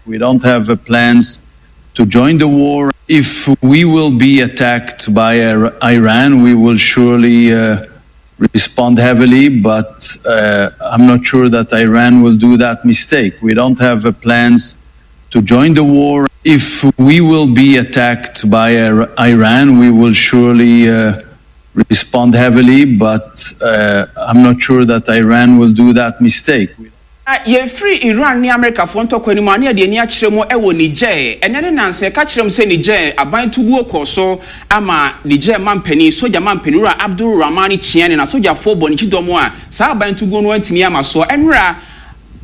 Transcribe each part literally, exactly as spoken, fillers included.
We don't have uh, plans to join the war. If we will be attacked by Iran, we will surely uh, respond heavily, but uh, I'm not sure that Iran will do that mistake. We don't have uh, plans to join the war. If we will be attacked by Iran, we will surely uh, respond heavily, but uh, I'm not sure that Iran will do that mistake. Yɛfiri Iran ne Amerikafoɔ ntɔkwa no mu a, ne yɛde ani akyerɛ mu wɔ Niger. Ɛnɛ ne nansa yɛka kyerɛ mu sɛ Niger aban tuguo kɔ so ama Niger mampanin, sogya mampanin Wura Abdul Rahman Tchiani na sogyafoɔ bɔ ne kyidɔm a saa aban tuguo no antumi ama so. Ɛnora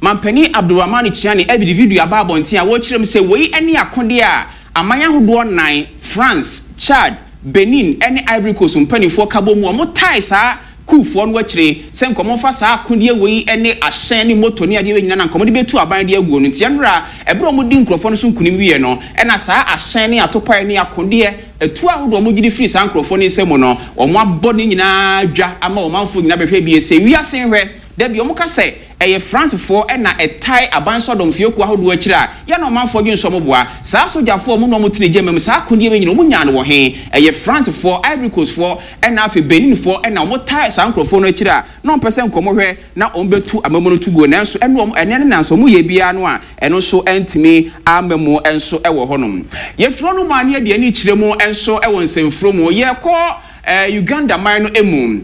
mampanin Abdul Rahman Tchiani ɛde video aba abɔnten a wɔrekyerɛ mu sɛ wei ne akodeɛ a aman ahodoɔ nnan, France, Chad, Benin ne Ivory Coast mpanimfoɔ ka bɔ mu a wɔtae saa kuufoɔ no akyire sɛ nkɔmɔ saa akodeɛ wei ne ahyɛn ne moto ne adeɛ wei nyinaa na nkɔmɔ de bɛtu aban de aguo no. Nti ɛnora ɛberɛ a wɔdi nkurɔfoɔ no so nkunim wie no, ɛna saa ahyɛn ne atopae ne akodeɛ etu ahodoɔ a wɔgye de firi saa nkurɔfoɔ no nsam no, wɔn abɔ ne nyinaa dwa ama ɔmanfoɔ nyinaa bɛhwɛ bie sɛ wiase nhwɛ. Dabi, wɔn ka sɛ ɛyɛ Francefoɔ ɛna ɛtae aban sɔdɔm ahodoɔ akyire a yɛn na ɔmanfoɔ dwe nsɔm boa saa sogyafoɔ ɔmo na ɔmo tene gya mu. Saa akodeɛ bɛ nyina ɔmo nyaa no wɔ he? Ɛyɛ Francefoɔ, Ivory Coastfoɔ ɛna afei Beninfoɔ ɛna ɔmo tae saa nkurɔfoɔ no akyire a na ɔmpɛ sɛ nkɔmɔ hwɛ na ɔmo bɛtu amamu no to guo. Nanso ɛno ɔmo ɛnɛ ne nanso ɔmo yɛ biara no a, ɛno nso ɛntumi ama mu ɛnso ɛwɔ hɔnom. Yɛfiri no mu a, ne yɛde ani kyerɛ mu ɛnso ɛwɔ nsɛmfuro mu. Yɛkɔ ɛɛ Uganda man no emu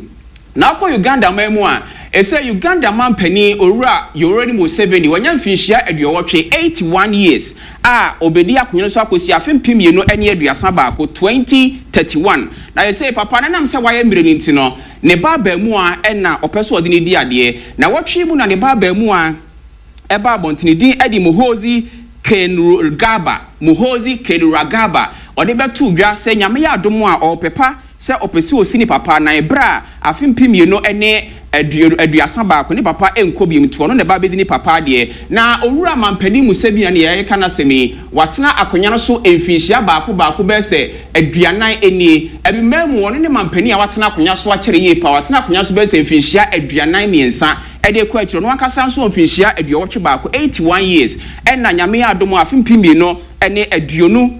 na akɔ Uganda man mu a, ɛsɛ Uganda man panin Owura Yoweri Museveni wanya mfinhyia aduɔwɔtwe, eighty-one years, a obedi akonnwa no so akɔsi afe mpem mmienu ne aduasa baako, twenty thirty-one. Na yɛsɛ papa no nam sɛ wayɛ mmerɛ no nti no, ne ba abaamu a ɛna ɔpɛ so ɔde ne di adeɛ na wɔtwe mu na ne ba abaamu a ɛba abɔntene din ɛde Muhozi Kainerugaba. Muhozi Kainerugaba ɔde bɛto dwa sɛ Nyame yɛ adom a, ɔrepepa sɛ ɔpɛ sɛ osi ne papa na ɛberɛ a afe mpem mmienu ne aduasa baako ne papa nkɔ biom nti, ɔno na ɛba bɛdi ne papa adeɛ. Na Owura mampanin Museveni ne yɛreka n'asɛm yi, watena akonnwa no so mfinhyia baako baako bɛyɛ sɛ aduanan nie. Abiman mu, ɔno ne mampanin a watena akonnwa so akyɛre yie pa. Watena akonnwa so bɛyɛ sɛ mfinhyia aduanan mmiɛnsa ɛde kɔ akyire. Ɔno ankasa nso mfinhyia aduɔwɔtwe baako, eighty-one years. Ɛna Nyame yɛ adom a, afe mpem mmienu ne aduonu,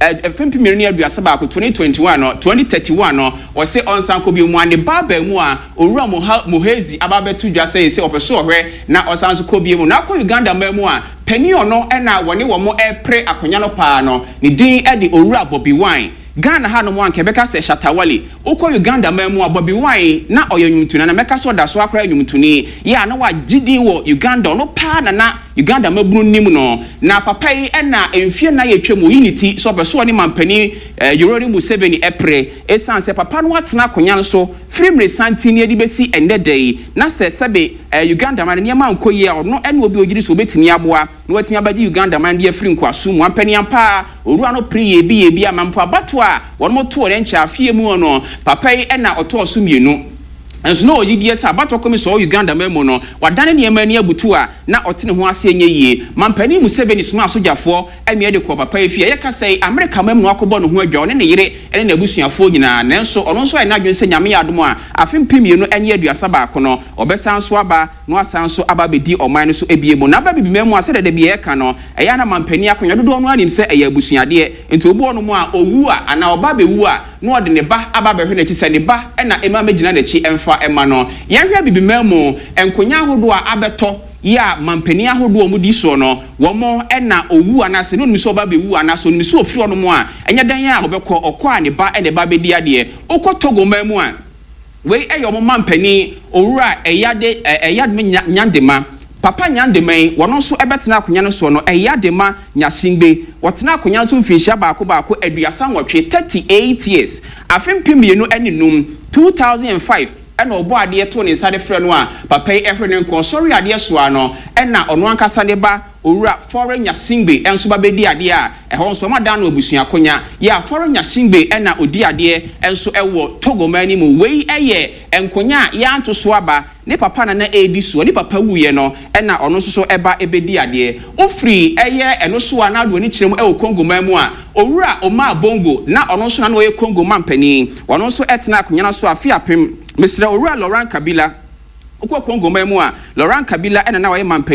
afe mpem mmienu ne aduasa baako, twenty twenty-one no, twenty thirty-one no, wɔsɛ ɔnsan kɔ bi mu a, ne ba baa mu a Owura Muhezi aba abɛto dwa sɛ sɛ ɔpɛ so ɔhwɛ na ɔsan so kɔ bi mu. Na akɔ Uganda man mu a, panin ɔno ɛna wɔne wɔn ɛpere akonnwa no paa no, ne din ɛde Owura Bobi Wine. Ghana ha nom anka ɛbɛka sɛ Shatta Wale. Wokɔ Uganda man mu a, Bobi Wine na ɔyɛ nnwomtoni na mɛka sɛ ɔda so akora nnwomtoni yɛ a na wagye din wɔ Uganda. Ɔno paa na na Uganda mabunu nim no. Na papa yi ɛna mfie na yɛtwa mu oyi ne ti sɛ ɔpɛ so ɔne mampanin eh, Yoweri Museveni ɛpere, ɛsiane sɛ papa no atena akonnwa no so firi mmere santen ne de bɛsi ɛnnɛ da yi, na sɛ sɛbe eh, Uganda man nneɛma nkɔ yie a, ɔno ɛne obi ogyiri so obɛtumi aboa na watumi abɛgye Uganda man de afiri nkoaso mu. Ampani ampa, owura no pere yɛ bi yɛ bi ama mpo abato a wɔn mo too ne nkyɛn afie mu no, papa yi ɛna ɔtɔɔ so mmienu. Nso na ɔyi deɛ sɛ abatɔ kɔmi sɛ ɔwɔ Uganda man mu no, wadane nneɛma ani abutu a na ɔte ne ho ase nyɛ yie. Mampanin Museveni soma asogyafoɔ ɛmea de kɔ papa yi fie. Ɛyɛ kasa yi, Amerika man mu no, akɔbɔ ne ho adwa, ɔne ne yere ɛne n'abusuafoɔ nyinaa. Nanso ɔno nso ayɛ n'adwene sɛ Nyame yɛ adom a, afe mpem mmienu ne aduasa baako no, ɔbɛsan so aba na wasan so aba abɛdi ɔman no so ebie mu. Na aba bibiman mu a, sɛdeɛ da bi yɛka no, ɛyɛ ana mampanin akonnwa dodoɔ no anim sɛ ɛyɛ abusuadeɛ. Nti obi wɔ no mu a owu a anaa ɔba abɛwu a, na ɔde ne ba aba abɛhwɛ n'akyi sɛ ne ba ɛna ɛma mɛgyina n'akyi ɛmfa ɛma no. Yɛnhwɛ bibiman mu nkonnwa ahodoɔ a abɛtɔ yɛ a mampanin ahodoɔ a wɔdi soɔ no, wɔn ɛna owu anaasɛ ne onim sɛ ɔba abɛwu anaasɛ onim sɛ ofiri hɔ nom a, ɛnyɛ dan a ɔbɛkɔ ɔkɔ a, ne ba ɛna ɛba abɛdi adeɛ. Wokɔ Togo man mu a, wei ɛyɛ ɔmo mampanin Owura Ɛyade Ɛyadema Nyandema. Papa Nyandema yi, wɔn nso ɛbɛtena akonnwa no soɔ no, Ɛyadema Nyasingbe, wɔtena akonnwa no so mfinhyia baako baako aduasa nwɔtwe, thirty eight years. Afe mpem mmienu ne num, two thousand and five, ɛna ɔbɔ adeɛ to ne nsa de frɛ no a, papa yi ɛhwɛ ne nkɔ ɔsɔre adeɛ soa no, ɛna ɔno ankasa ne ba Owura Faure Gnassingbé ɛnso ba bɛdi adeɛ a ɛhɔ nso ɔmo adan no abusua akonnwa yɛ a, Faure Gnassingbé ɛna odi adeɛ ɛnso ɛwɔ Togo man no mu. Wei ɛyɛ nkonnwa a yɛanto so aba, ne papa nana edi soɔ. Ne papa wuyɛ no, ɛna ɔno nso so ɛba ɛbɛdi adeɛ. Ofiri ɛyɛ ɛno so a, n'ado ani kyerɛ mu ɛwɔ Congo man mu a, Owura Omar Bongo na ɔno nso na ɔyɛ Congo man panin. Ɔno nso ɛtena akonnwa no so afe apem, mesrɛ, Owura Laurent Kabila. Wokɔ Congo man mu a, Laurent Kabila ɛna na ɔyɛ mampanin.